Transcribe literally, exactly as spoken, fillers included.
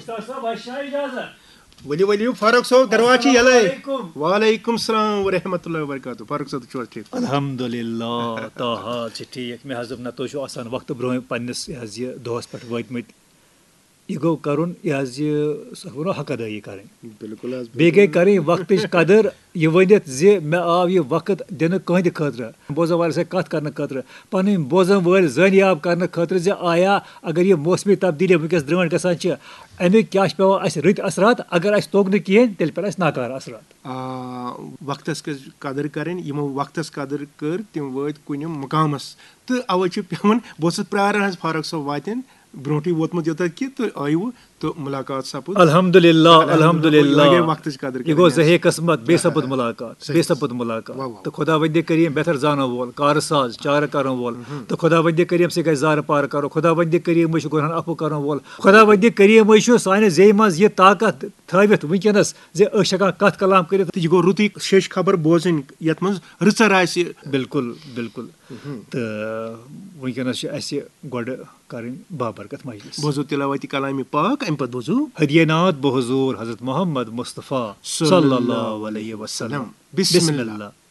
Doctor صٲب، اَسہِ چھا اجازت؟ ؤلِو ؤلِو، فاروق صٲب، دروازٕ چھِ یَلَے۔ السلام علیکم۔ وعلیکم السلام ورحمۃ اللہ وبرکاتہ۔ فاروق صٲب، تُہۍ چھِو حظ ٹھیٖک؟ الحمدللہ، تہٕ حظ چھِ ٹھیٖک۔ مےٚ حظ دوٚپ، نہ، تُہۍ چھِو آسان وقتہٕ برونٛہہ پننِس، یہِ حظ یہِ دۄہَس پٮ۪ٹھ وٲتمٕتۍ۔ یہِ گوٚو کَرُن، یہِ حظ یہِ، سُہ وَنو، حق ادٲیی کَرٕنۍ۔ بِلکُل حظ، بیٚیہِ گٔے کَرٕنۍ وقتٕچ قدٕر، یہِ ؤنِتھ زِ مےٚ آو یہِ وقت دِنہٕ کٕہٕنٛدِ خٲطرٕ، بوزَن والٮ۪ن سۭتۍ کَتھ کَرنہٕ خٲطرٕ، پَنٕنۍ بوزَن وٲلۍ زٲنیاب کَرنہٕ خٲطرٕ زِ آیا اگر یہِ موسمی تبدیٖلی وٕنکیٚس درٛٲنٛٹھ گژھان چھِ، اَمیُک کیٛاہ چھُ پٮ۪وان اَسہِ رٕتۍ اثرات؟ اگر اَسہِ توٚگ نہٕ کِہیٖنۍ، تیٚلہِ پٮ۪ن اَسہِ ناکارٕ اثرات۔ آ، وقتس گژھِ قدٕر کرٕنۍ۔ یِمو وقتس قدٕر کٔر، تِم وٲتۍ کُنہِ مقامس، تہٕ اوے چھُ پٮ۪وان، بہٕ اوسُس پراران حظ، فاروق صٲب واتن، برونٹھٕے ووتمُت یوٚتتھ کہِ تُہۍ آیوٕ تہٕ ملاقات سپُد۔ الحمدللہ، الحمدللہ، الحمدللہ۔ یہِ گٔے وقتٕچ قدٕر یہِ کرٕنۍ گوٚو حظ۔ زہے قسمت، بیٚیہِ سپُد ملاقات، صحیح۔ بیٚیہِ سپُد ملاقات۔ واہ، واہ۔ تہٕ خۄداوندِ کریٖم بہتر زانن وول، کارٕ ساز، چارٕ کرن وول، تہٕ خۄداوندِ کریٖم سۭتۍ گژھِ زارٕ پار کرو، خۄداوندِ کریٖم چھُ گۄنہن عفو کرن وول، خۄداوندِ کریٖمٕے چھُ سانہِ زیٚیہِ منٛز یہِ طاقت تھٲوِتھ وٕنکیٚنس زِ أسۍ چھِ ہٮ۪کان کتھ کلام کٔرِتھ۔ تہٕ یہِ گوٚو رُتُے شیٚچھ خبر بوزٕنۍ، یتھ منٛز رٕژر آسہِ۔ بِلکُل، بِلکُل۔ تہٕ وٕنکیٚنس چھِ اَسہِ گۄڈٕ کرٕنۍ بابرکت مجلس۔ بوزو تلاوت کلامِ پاک، امہِ پتہٕ بوزو۔ ہدیہ ناتھ بحضور حضرت محمد مصطفیٰ صلی اللہ علیہ وسلم۔ بسم اللہ۔